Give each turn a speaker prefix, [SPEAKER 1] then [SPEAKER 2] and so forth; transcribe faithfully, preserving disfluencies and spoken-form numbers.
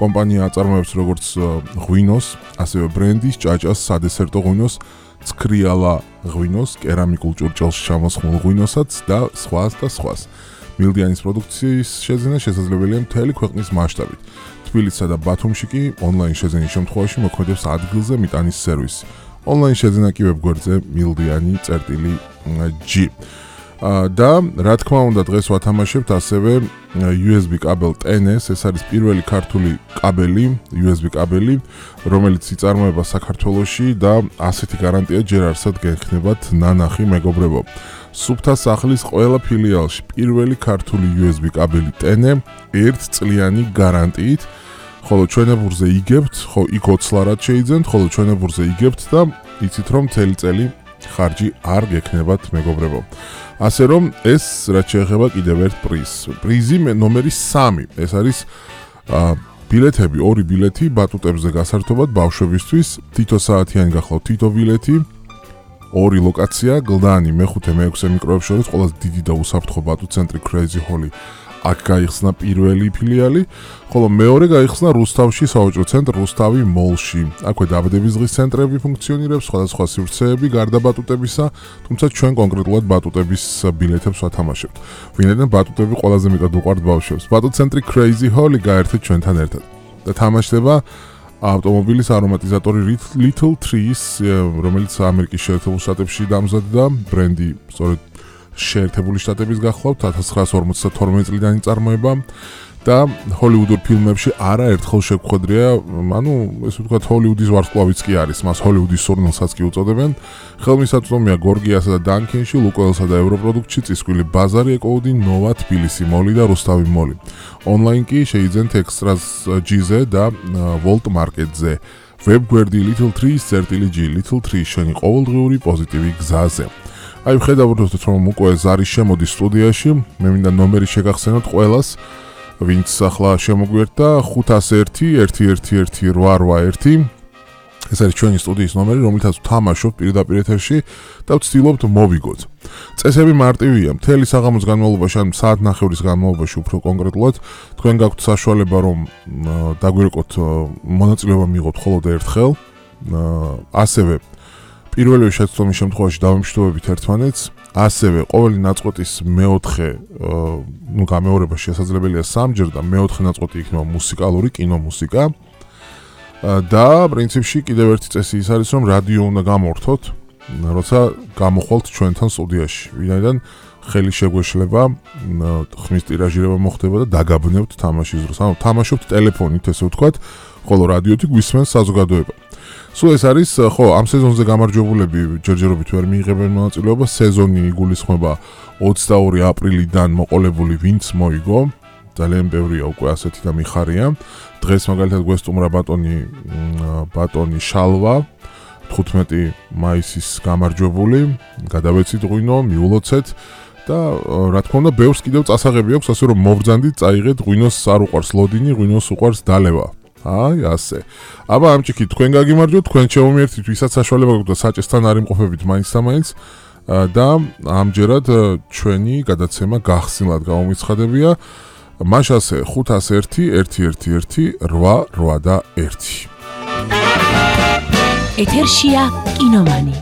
[SPEAKER 1] კომპანია აწარმოებს როგორც ღვინოს, ასევე ბრენდის, ჭაჭას, სადესერტო ღვინოს, ცქრიალა ღვინოს, კერამიკულ ჭურჭელში ჩამოსხმულ ღვინოსაც და სხვას და სხვას. მილდიანის პროდუქციის შეძენა შესაძლებელია მთელი ქვეყნის მასშტაბით. თბილისსა და ბათუმში კი ონლაინ შეძენის შემთხვევაში მოქმედებს ადგილზე მიტანის სერვისი. ონლაინ შეძენა კი ვებგვერდზე მილდიანი წერტილი G. და რა თქმა უნდა დღეს ვათამაშებთ ასევე U S B კაბელ ten S, ეს არის პირველი ქართული კაბელი, U S B კაბელი, რომელიც იწარმოება საქართველოში და ასეთი გარანტია ჯერ არსად გექნებათ ნანახი მეგობრებო. სუფთა სახლის ყველა ფილიალში პირველი ქართული U S B კაბელი ten E ერთწლიანი გარანტიით, ხოლო ჩვენებურზე იგებთ, ხო იქ ოცლარად შეიძენთ, ხოლო ჩვენებურზე იგებთ და იცით რომ მთელი წელი ხარჯი არ გექნებათ მეგობრებო. ასე რომ ეს რაც შეეხება კიდევ ერთ პრიზს. პრიზი ნომერი სამი. ეს არის ბილეთები, ორი ბილეთი ბატუტებზე გასართობად ბავშვებისთვის, თითო საათიანი გახლავთ თითო ბილეთი, ორი ლოკაცია, გლდანი, მეხუთე, მეექვსე მიკროებს შორის ყველაზე დიდი და უსაფრთხო ბატუტ ცენტრი Crazy Holly. აქ გაიხსნა პირველი ფილიალი, ხოლო მეორე გაიხსნა რუსთავში სავაჭრო ცენტრ რუსთავი მოლში. აქვე დაბადების დღის ცენტრები ფუნქციონირებს, სხვადასხვა სივრცეები გარდა ბატუტებისა, თუმცა ჩვენ კონკრეტულად ბატუტების ბილეთებს ვათამაშებთ. ვინაიდან ბატუტები ყველაზე მეტად უყვართ ბავშვებს. ბატუტ ცენტრი Crazy Holly გაერთეთ ჩვენთან ერთად. და თამაშდება ავტომობილის არომატიზატორი Little Trees, რომელიც ამერიკის შეერთებულ შტატებში დამზადდა, ბრენდი სწორედ შეერთებული შტატების გახლავთ ათას ცხრაასი ორმოცდათორმეტი წლიდან იწარმოება და ჰოლივუდურ ფილმებში არაერთხელ შეგვხვედრია, ანუ ესე ვთქვათ ჰოლივუდის ვარსკვლავიც კი არის, მას ჰოლივუდის სურნელსაც კი უწოდებენ. ხელმისაწვდომია გორგიასა და დანკენში, ლუკოელსა და ევროპროდუქტში, წისქვილი ბაზარი, ეკოუდი, ნოვა, თბილისი მოლი და რუსთავი მოლი. ონლაინ კი შეიძენთ ექსტრას G-ზე და ვოლტ მარკეტზე. ვებგვერდი Little Trees წერტილი G, Little Trees შენი ყოველდღიური პოზიტივი გზაზე. აი ვხედავთ რომ უკვე ზარი შემოდის სტუდიაში, მე მინდა ნომერი შეგახსენოთ ყველას, ვინც ახლა შემოგვიერთდა ხუთას ერთი ერთი ერთი ერთი რვა რვა ერთი. ეს არის ჩვენი სტუდიის ნომერი, რომელთაც ვთამაშობთ პირდაპირ ეთერში და ვცდილობთ მოვიგოთ. წესები მარტივია, მთელი საღამოს განმავლობაში, ან საათნახევრის განმავლობაში უფრო კონკრეტულად, თქვენ გაქვთ საშუალება რომ დაგვირეკოთ მონაწილეობა მიიღოთ მხოლოდ ერთხელ. ასევე პირველი შეცდომის შემთხვევაში დავემშვიდობებით ერთმანეთს, ასევე ყოველი ნაწყვეტის მეოთხე, ნუ გამეორება შესაძლებელია სამჯერ და მეოთხე ნაწყვეტი იქნება მუსიკალური, კინომუსიკა. და პრინციპში კიდევ ერთი წესი ის არის, რომ რადიო უნდა გამორთოთ, როცა გამოხვალთ ჩვენთან სტუდიაში. ვინაიდან ხელი შეგვეშლება, ხმის ტირაჟირება მოხდება და დაგაბნევთ თამაშის დროს. ანუ თამაშობთ ტელეფონით, ესე ვთქვათ, ხოლო რადიოთი გვისმენს საზოგადოება. სულ ეს არის, ხო, ამ სეზონზე გამარჯვებულები ჯერჯერობით ვერ მიიღებენ მონაწილეობას. სეზონი იგულისხმება ოცდაორი აპრილიდან მოყოლებული ვინც მოიგო. ძალიან ბევრია უკვე ასეთი და მიხარია. დღეს მაგალითად გვესტუმრა ბატონი ბატონი შალვა, თხუთმეტი მაისის გამარჯვებული. გადავეცით ღვინო, მიულოცეთ და რა თქმა უნდა, ბევრს კიდევ წასაღები აქვს, ასე რომ მოვბრძანდით, წაიღეთ ღვინოს არ უყვარს ლოდინი, ღვინოს უყვარს დალევა. აი ასე. აბა ამ ჭიქით თქვენ გაგიმარჯვოთ, თქვენ შემომიერთით, ვისაც საშუალება გაქვთ და საჭესთან არ იმყოფებით მაინც და მაინც და ამჯერად ჩვენი გადაცემა გახსნილად გამომიცხადებია. მაშასე ხუთას ერთი ერთი ერთი ერთი რვა რვა და ერთი.
[SPEAKER 2] ეთერშია კინომანი.